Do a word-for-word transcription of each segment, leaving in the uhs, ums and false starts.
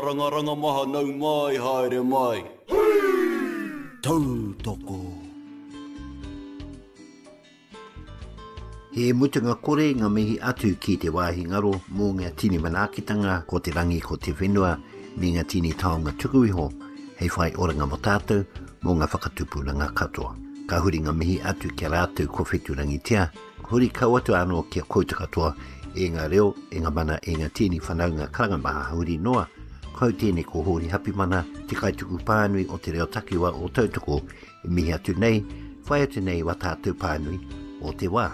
Rangaranga maha nau mai haere mai. Tautoko. He mutunga kore ngā mihi atu ki te wāhi ngaro mō ngā tini manaakitanga ko te rangi ko te whenua me ngā tini taonga tuku iho hei whai oranga mō tātou mō ngā whakatupuranga katoa. Ka huri ngā mihi atu ki a rātou ko wheturangitea, huri kau atu anō ki a koutou katoa e ngā reo, e ngā mana, e ngā tini whanaunga karanga maha huri noa. Kau tēnei ko Hōri Hapimana, te kaituku pānui o te reo takiwa o Tautoko, e mihi atu nei, whai atu nei wā tātou pānui o te wā.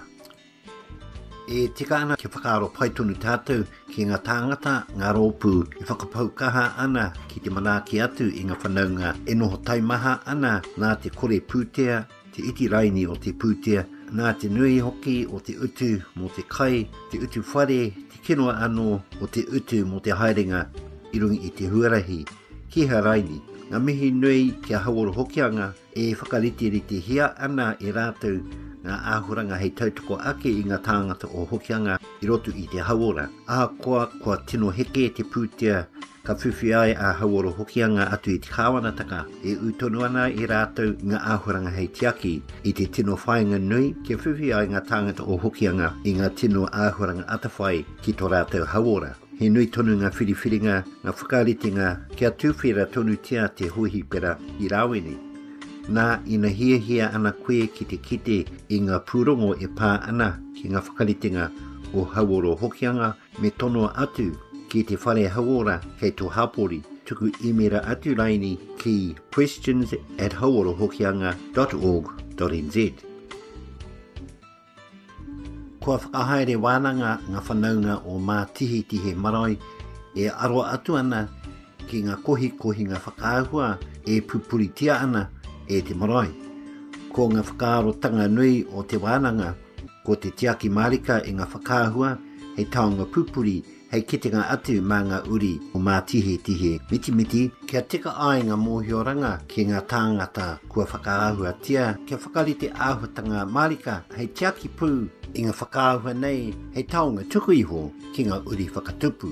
E tika ana kia whakaaro pai tonu tātou ki ngā tāngata, ngā rōpū e whakapau kaha ana ki te manaaki atu i ngā whanaunga e noho taimaha ana nā te kore pūtea, te iti raini o te pūtea, nā te nui hoki o te utu mō te kai, te utu whare, te kino anō o te utu mō te haerenga i runga i te huarahi. Ki hea raini, ngā mihi nui ki a Hauora Hokianga e whakariteritehia ana e rātou ngā āhuranga hei tautoko ake i ngā tāngata o Hokianga i roto i te hauora. Ahakoa kua tino heke te pūtea ka whiwhi ai a Hauora Hokianga atu i te kāwanatanga, e ū tonu ana i rātou ngā āhuranga hei tiaki i te tino whāinga nui kia whiwhi ai ngā tāngata o Hokianga i ngā tino āhuranga atawhai ki tō rātou hauora. He nui tonu ngā whiriwhiringa, ngā whakaritenga kia tūwhera tonutia te hohipera i Rāwene. Nā, ina hiahia ana koe ki te kite i ngā pūrongo e pā ana ki ngā whakaritenga o Hauora Hokianga, me tonoa atu ki te whare hauora kei tō hapori. Tuku īmera atu raini ki questions at hauorahokianga dot org dot nz. Kua whakahaere wānanga ngā whanaunga o Mātihetihe Marae e aro atu ana ki ngā kohikohinga whakaahua e pupuritia ana e te marae. Ko ngā whakaarotanga nui o te wānanga, ko te tiaki mārika i ngā whakaahua hei taonga pupuri, hei kitenga atu mā ngā uri o Mātihetihe mitimiti, kia tika ai ngā mōhioranga ki ngā tāngata kua whakaahuatia, kia whakarite āhuatanga mārika hei tiaki pū i ngā whakaahua nei hei taonga tuku iho ki ngā uri whakatupu.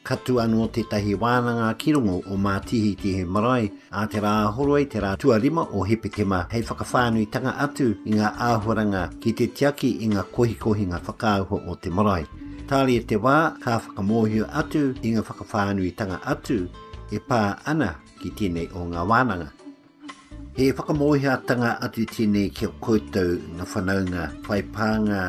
Ka tū anō tētahi wānanga ki rongo o Mātihetihe Marae a te rā horoi te rā tuarima o Hepetema hei whakawhānuitanga atu i ngā āhuaranga ki te tiaki i ngā kohikohinga whakaahua o te marae. Tāria te wā ka whakamōhio atu i ngā whakawhānuitanga atu e pā ana ki tēnei o ngā wānanga. He whakamōhiatanga atu tēnei ki a koutou ngā whanaunga whai pānga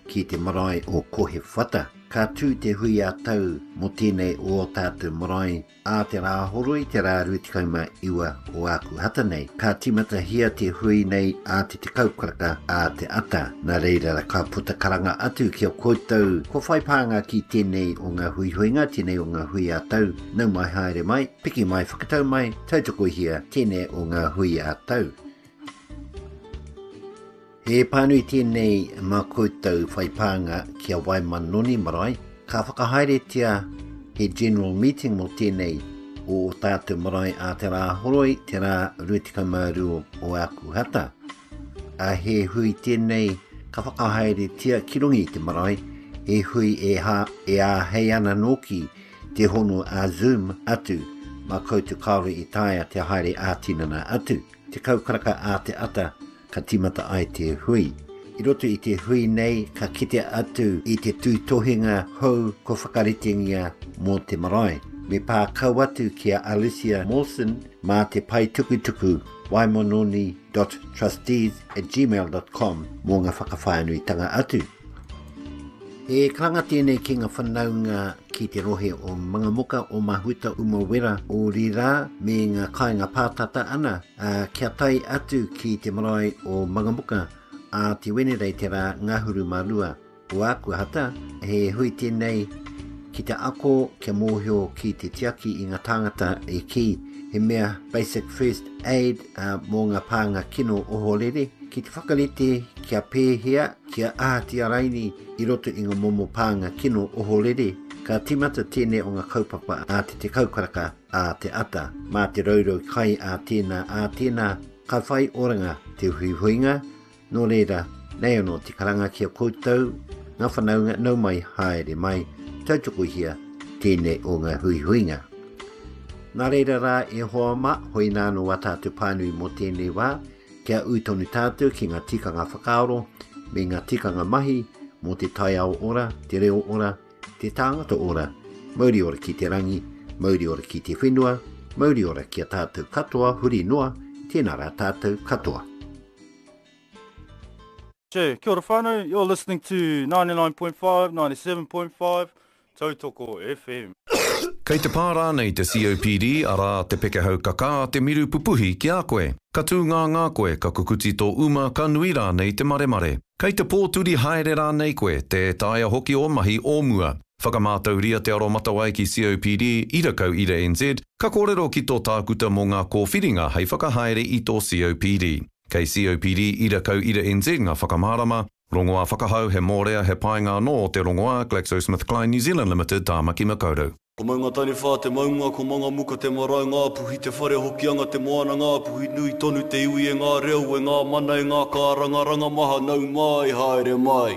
ki te marae o Kohewhata. Ka tū te hui a tau mō tēnei o ō tātou marae a te rā horoi te rā rua tekau mā iwa o Ākuhata nei. Ka tīmatahia te hui nei a te tekau karaka a te ata. Nā reira ka puta karanga atu ki a koutou kua whai pānga ki tēnei o ngā huihuinga, tēnei o ngā hui a tau. Nau mai haere mai, piki mai whakatau mai, tautokohia tēnei o ngā hui a tau. He pānui tēnei mā koutou whai pānga ki a Waimanoni Marae. Ka whakahaeretia he general meeting mō tēnei o ō tātou marae a te rā horoi, te rā rua tekau mā rua o Ākuhata. A he hui tēnei ka whakahaeretia ki runga i te marae, he hui e, ha, e āhei ana nōki te hono a Zoom atu, mā koutou kāore i taea te haere ā-tinana atu. Te kaukaraka a te ata ka tīmata ai te hui. I roto i te hui nei, ka kite atu i te tūtohinga hou ko whakaritengia mō te marae. Me pā kau atu ki a Alicia Mawson mā te pae tukutuku waimanoni dot trustees at gmail dot com mō ngā whakawhānuitanga atu. He karanga tēnei ki ngā whanaunga ki te rohe o Mangamuka, o Mahuta, Umawera, o Rira, me ngā kāinga pātata ana, ā, kia tae atu ki te marae o Mangamuka, a te Wenerei te rā ngahuru mā rua o Ākuhata. He hui tēnei ki te ako kia mōhio ki te tiaki i ngā tāngata e kī, he mea basic first aid, ā, mō ngā pānga kino ohorere, ki te whakarite kia pēhea, kia ahatia raini i roto i ngā momo pānga kino ohorere. Ka tīmata tēnei o ngā kaupapa a te tekau karaka a te ata. Mā te raurau kai a tēnā a tēnā, ka whai oranga te huihuinga, nō reira, nei anō te karanga ki a koutou, ngā whanaunga nau mai haere mai, tautokohia tēnei o ngā huihuinga. Nā reira rā e hoa mā, hoi nāno wā tātou pānui mō tēnei wā, kia ū tonu tātou ki ngā tikanga whakaaro me ngā tikanga mahi mō te taiao ora, te reo ora, te tāngata ora, mauri ora ki te rangi, mauri ora ki te whenua, mauri ora ki a tātou katoa, huri noa, tēnā rā tātou katoa. Che, kia ora whānau, you're listening to ninety-nine point five, ninety-seven point five, Tautoko F M. Kei te pā rānei te C O P D, arā te pekehau kakā, te miru pupuhi ki a koe. Ka tū ngā ngā koe, ka kukuti tō uma, ka nui rānei te maremare. Kei te pōturi haere rānei koe, tē taea hoki o mahi o mua. Whakamātauria te aro matawai ki C O P D, ira kau ira N Z, ka kōrero ki tō tākuta mō ngā kōwhiringa hei whakahaere i tō C O P D. Kei C O P D ira kau ira N Z ngā whakamārama, rongoā whakahau he mōrea he painga anō o te rongoā GlaxoSmithKline New Zealand Limited Tāmaki Makaurau. Ko maunga taniwha te maunga, ko mangamuka te marae, ngā puhi te whare hokianga te moana, ngā puhi nui tonu te iwi e ngā reo, e ngā mana, e ngā kārangaranga maha, nau mai, haere mai.